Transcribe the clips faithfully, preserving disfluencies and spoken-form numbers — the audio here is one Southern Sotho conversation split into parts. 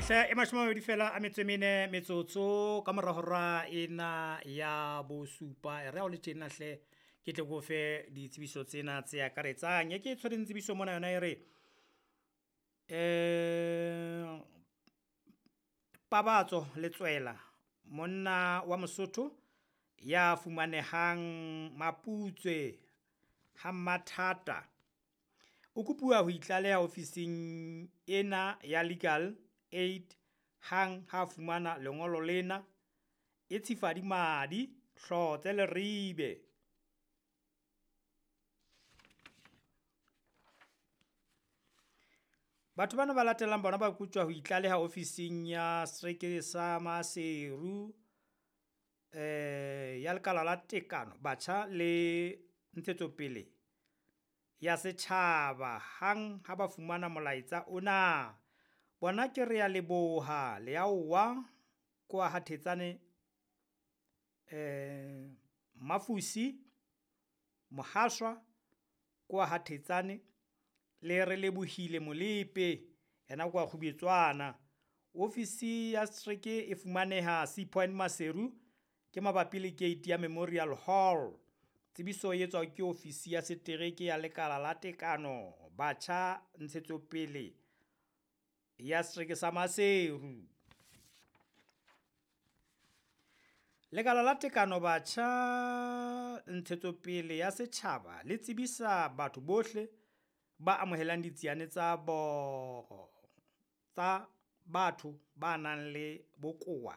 Hle e mashome a mabedi fela a metso e mene metsotso ka mora hora ena ya bosupa. E re ha o le tjena hle ke tle ke o fe ditsebiso tsena tse akaretsang. E ke e tshwereng tsebiso mona yona e re um Pabatso Letswela, monna wa Mosotho ya fumanehang Maputswe ha Mmathata, o kopuwa ho itlaleha ofising ena ya Legal Aid hang ha fumana lengolo lena. E tshifadi madi hlotse Leribe. Batho bana ba latelang bona ba kotjwa ho itlaleha ofising ya setereke sa Maseru, eh ya lekala la tekano batjha le ntshetsopele ya setjhaba hang ha ba fumana molaetsa ona. Bona ke re ya leboha Leaowa kwa ha Thetsane, eh Mafusi Mohaswa kwa ha Thetsane, le re lebohile Molepe yena kwa Kgubetswana. Ofisi ya setereke e fumaneha Sea Point Maseru, ke mabapi le gate ya Memorial Hall. Tsebiso e etswa ke ofisi ya setereke ya lekala la tekano batjha ntshetsopele ya setereke sa Maseru. Lekala la tekano batjha ntshetsopele ya setjhaba le tsebisa batho bohle ba amohelang ditsiane tsa bo tsa batho ba nang le bokowa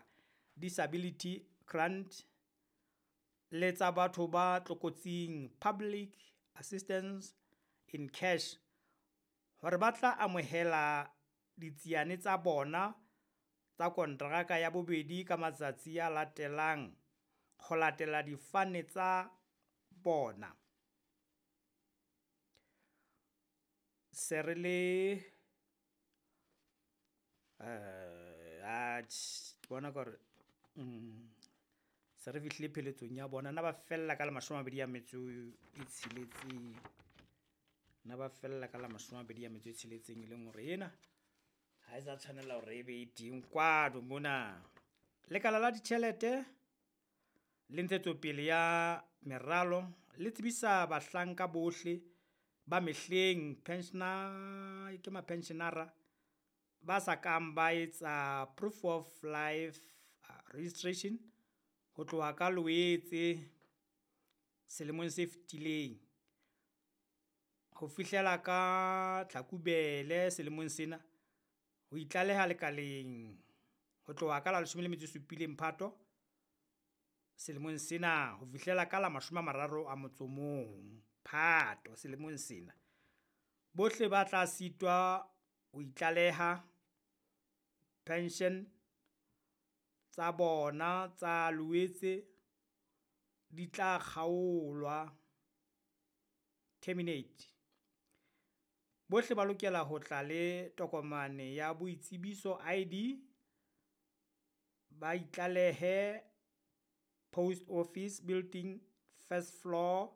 disability grant le tsa batho ba tlokotsing public assistance in cash hore ba tla amohela ditsiane tsa bona tsa kontraka ya bobedi ka matsatsi a latelang ho latela difane tsa bona. Se re le eh atjhe ke bona ka hore mm se re fihlile pheletsong ya bona. Na ba fella ka la mashome a mabedi a metso e tsheletseng, na ba fella ka la mashome a mabedi a metso e tsheletseng, e leng hore ena ha e sa tshwanela hore e be e teng kwano mona. Lekala la ditjhelete le ntshetsopele ya meralo le tsebisa bahlanka bohle ba mehleng pensioner ke mapensionara ba sa kang ba etsa proof of life registration ho tloha ka Loetse selemong se fetileng ho fihlela ka Tlhakubele selemong sena, ho itlaleha lekaleng ho tloha ka la leshome le metso e supileng Phato selemong sena ho fihlela ka la mashome a mararo a motso o mong Phato selemong sena. Bohle ba tla sitwa ho itlaleha pension tsa bona tsa Loetse di tla kgaolwa, terminate. Bohle ba lokela ho tla le tokomane ya boitsebiso I D, ba itlalehe Post Office Building first floor,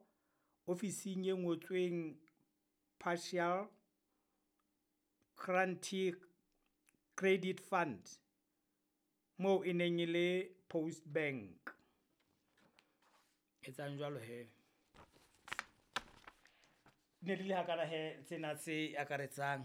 ofising e ngotsweng Partial Guarantee Credit Fund, moo e neng e le Post Bank. Etsang jwalo he. Ne di le hakana he tsena tse akaretsang.